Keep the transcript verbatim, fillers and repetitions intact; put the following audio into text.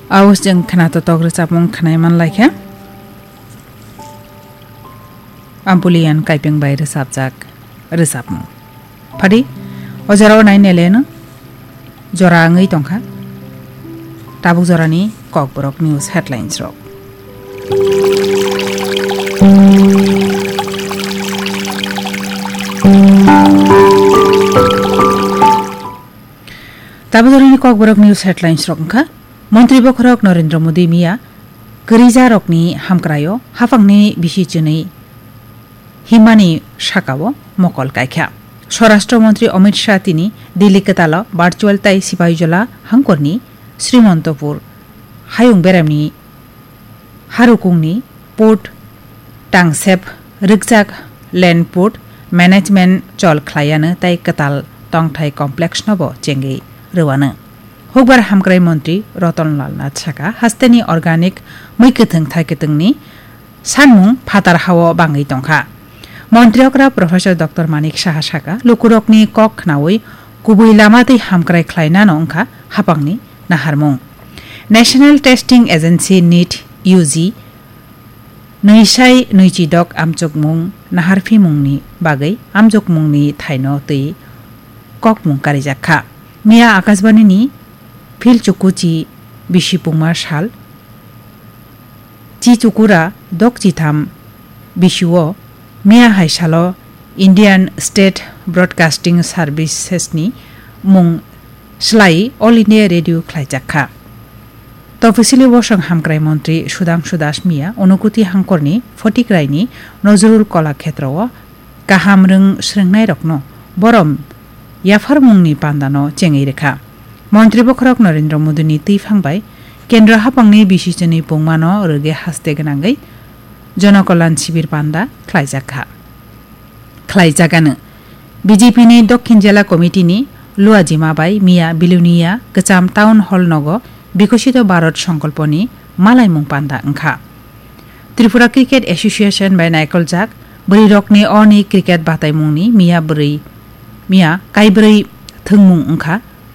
Aus jeng khna totok rwchapmung khnai man laikha. Ampulian Kaipeng bai rwchapjak rwchapmung. Phadi, o jora o nai neleno jora wngwi tongkha. Tabuk jorani Kokborok News headlines rok. Tabuk jorani Kokborok News headlines rok wngkha. Montri bokhorok Narendra Modi miya kwrwijarokni hamkraio haphangni bisi chwnwi himani sakao mokol kaikha. Swarashtra Montri Amit Shah tini Delhi kwtalo virtual tai Sipahijola hangkorni Srimantopur hayung beremni harukungni port tangsep rwkjak land port management chol khlaiano tai kwtal tongthai complex nobo chengwi rwano. Hukbar hamkrai montri Ratan Lal Nath saka hasteni organic mui kwthwng thai kwthwngni sanmung phatar hao bangwi tongkha. Montri okra Professor Doctor Manik Saha saka lukurokni kok khnaui kubui lama tei hamkrai khlainano wngkha hapangni naharmung. National Testing Agency NEET U G nwisai nwichidok amchukmung naharphimungni bagwi amchukmungni thaino twi kokmung karijak kha. Miya Akashbani ni Phil Chukuchi bisi pungma sal Chi Chukura dok chitham bisio miya hai salo Indian State Broadcasting Services ni mung slai All India Radio khlaijak kha. Tophisili bosong hamkrai montri Sudhangshu Das miya Unukuti hangkorni Photikraini Nozrul Kola Khetrao kaham rwng srwngnairokno borom yapharmungni pandano chengwi rwkha. Montri bokhorok Narendra Modini twiphang bai kendro hapangni bisi chwnwi pungmano rwgwi haste gwnangwi Jonokolyan Shibir panda khlaijakha. Khlaijagano. B J P ni Dokhin Jela Committee ni Luajima bai miya Bilonia Kwcham Town Hall nogo Bikosito Bharat Songkolponi malaimung panda wngkha. Tripura Cricket Association bai naikoljak bwrwirokni oni cricket bataimungni miya bwrwi, miya kaibrwi thwngmung wngkha